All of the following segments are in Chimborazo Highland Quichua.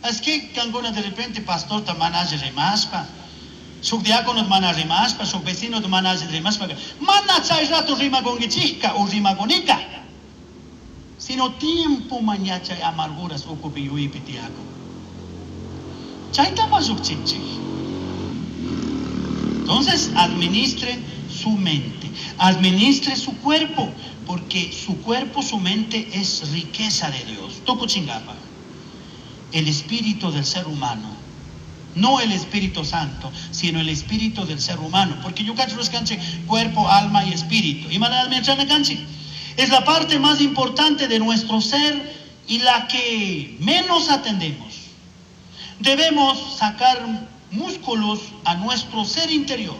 Es que cancuna de repente pastorta mana alli rimashpa, shuk diácono mana rimashpa, shuk vecino mana alli rimashpa, mana chay rato rimakunkichikka o rimakunika. Sino tiempo ña chay amarguras ukupi yuyaypi tiyakun. Chayta llukchinchik. Entonces, administre su mente, administre su cuerpo, porque su cuerpo, su mente es riqueza de Dios. Tukuchingapaj. El espíritu del ser humano, no el Espíritu Santo, sino el espíritu del ser humano, porque yo cacho canche cuerpo, alma y espíritu. Y Es la parte más importante de nuestro ser y la que menos atendemos. Debemos sacar músculos a nuestro ser interior.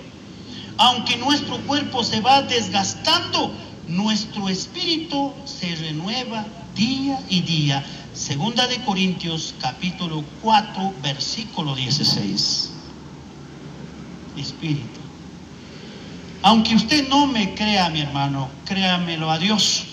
Aunque nuestro cuerpo se va desgastando, nuestro espíritu se renueva día y día. Segunda de Corintios capítulo 4, versículo 16. Espíritu. Aunque usted no me crea, mi hermano, créamelo a Dios.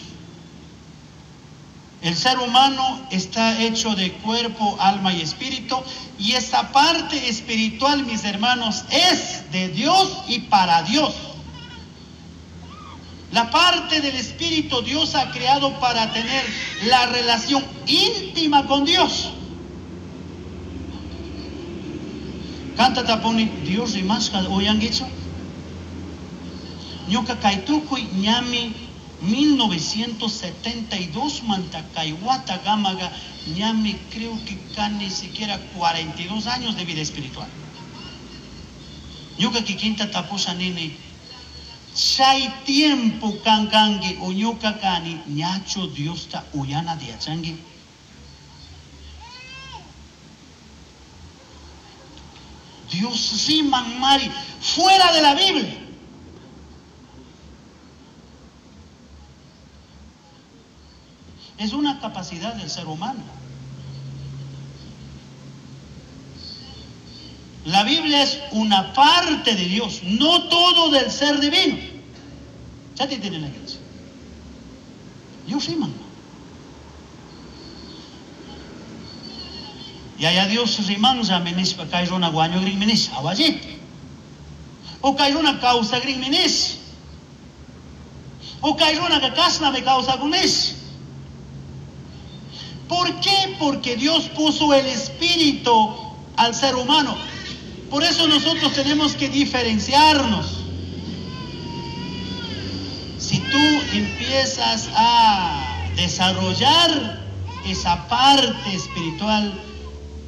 El ser humano está hecho de cuerpo, alma y espíritu, y esa parte espiritual, mis hermanos, es de Dios y para Dios. La parte del espíritu Dios ha creado para tener la relación íntima con Dios. Kanta tapuni Dios rimashka uyanguichu. Ñuka kay tukuy ñami 1972 manta kay watakamaga ñami creo que ni siquiera 42 años de vida espiritual. Ñuka kikinta tapusha nini chay tiempo kan kanki o ñuka kani ñachu Diosta uyana yachangi. Dios riman mari fuera de la Biblia. Es una capacidad del ser humano. La Biblia es una parte de Dios, no todo del ser divino. Ya te tienen la cabeza. Dios riman. Yaya Dios rimanlla nishpa kay runa wañugrin nish awallita. O kay runa kawsagrinmi nish. O kay runaka kashnami kawsakun nish. ¿Por qué? Porque Dios puso el espíritu al ser humano. Por eso nosotros tenemos que diferenciarnos. Si tú empiezas a desarrollar esa parte espiritual,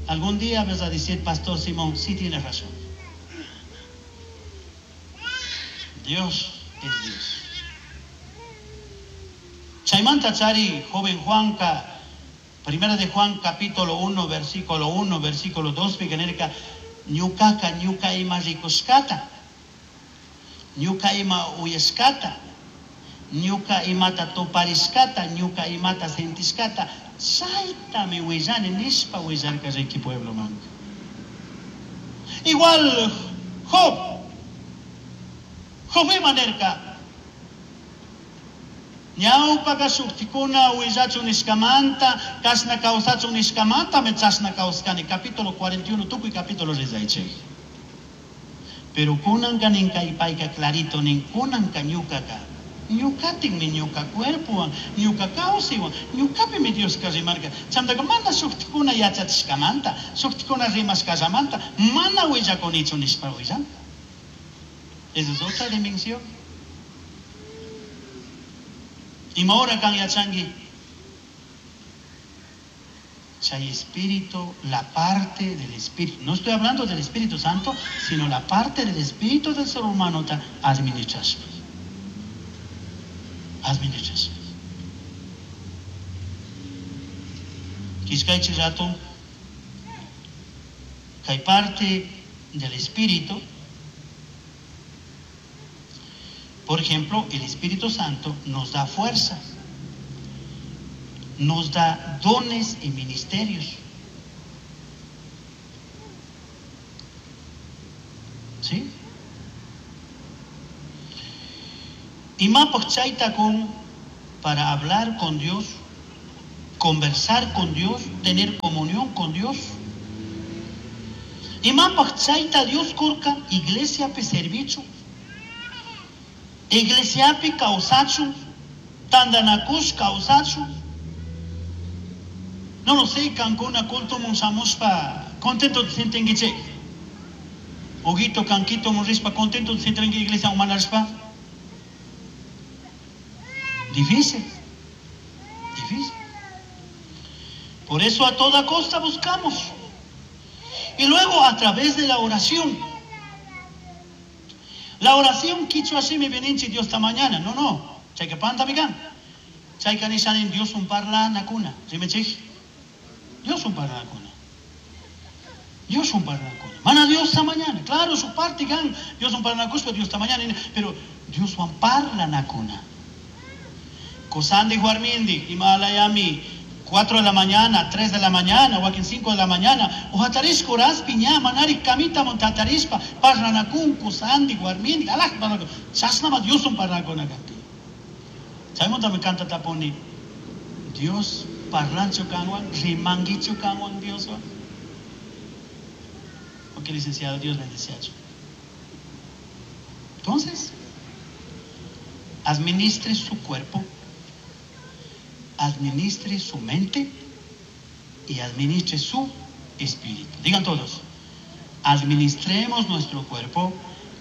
algún día vas a decir, Pastor Simón, sí tienes razón. Dios es Dios. Chaymanta chari, joven Juanca, Primera de Juan capítulo 1, versículo 1, versículo 2, nirka, ñukaka ñuka ima rikushkata, ñuka ima uyashkata, ñuka imata tuparishkata, ñuka imata sentishkata, chaytami willani nishpa willarka riki pueblo manka. Igual Job, Job ima nirka, ñawpaka shuktikuna willachun nishkamanta, kashna kawsachun nishkamanta me chashna kawskani. Capítulo 41, tukuy capítulo rillaychik. Pero kunanka nin kay payka clarito nin kunanka ñukaka. Ñukatinmi ñuka cuerpowan, ñuka kawsaywan, ñukapimi Dioska rimarka. Chaymantaka mana shuktikuna yachachishkamanta, shuktikuna rimashkallamanta, mana willakunichu nishpa willan. Esa es otra dimensión. Ima hora kan yachanki? Chay espíritu, la parte del espíritu. No estoy hablando del Espíritu Santo, sino la parte del espíritu del ser humano ta administrashpa. Administrashpa. Kishkaychi rato, kay parte del espíritu. Por ejemplo, el Espíritu Santo nos da fuerza, nos da dones y ministerios. ¿Sí? Imapaj chayta kun para hablar con Dios, conversar con Dios, tener comunión con Dios. Imapaj chayta Dios kurka iglesiapi servichu, iglesiapi kawsachun, tandanakush kawsachun. No lo sé, kankuna cultomun shamushpa contento sintinkichik. Huguito, kanquito rishpa contento sintinki iglesia manashpa. Difícil, difícil. Por eso a toda costa buscamos. Y luego a través de la oración. La oración quichua shimi veninchi Dios ta mañana. No, no. Chayka panta mikan. Chayka nishanin Dioswan parlanakuna. Rimechij. Dioswan parlanakuna. Dioswan parlanakuna. Mana Dios ta mañana. Claro, su parte kan. Dioswan parlanakushpa Dios ta mañana. Pero Dioswan parlanakuna. Kusandi warmindi, Himalayami, 4 de la mañana, 3 de la mañana, wakin 5 de la mañana, o hatarishka horaspi ña manari camita montatarishpa, parlanakun, kusandi, warmindi, alaj, parlanakun. Chashnama Dioswan parlanakuna kanki. Chaymanta me canta tapuni, Dios parlanchu kanwan, rimanguichu kanwan Dioswan. Ok, licenciado, Dios bendice. Entonces, administre su cuerpo, administre su mente y administre su espíritu. Digan todos, administremos nuestro cuerpo,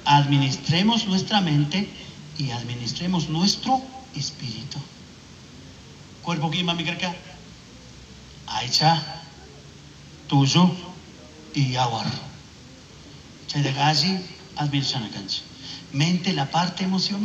administremos nuestra mente y administremos nuestro espíritu. Cuerpo que mami carca, aicha, tuyo y yawar. Chay de galli, administrana cancha. Mente, la parte emocional.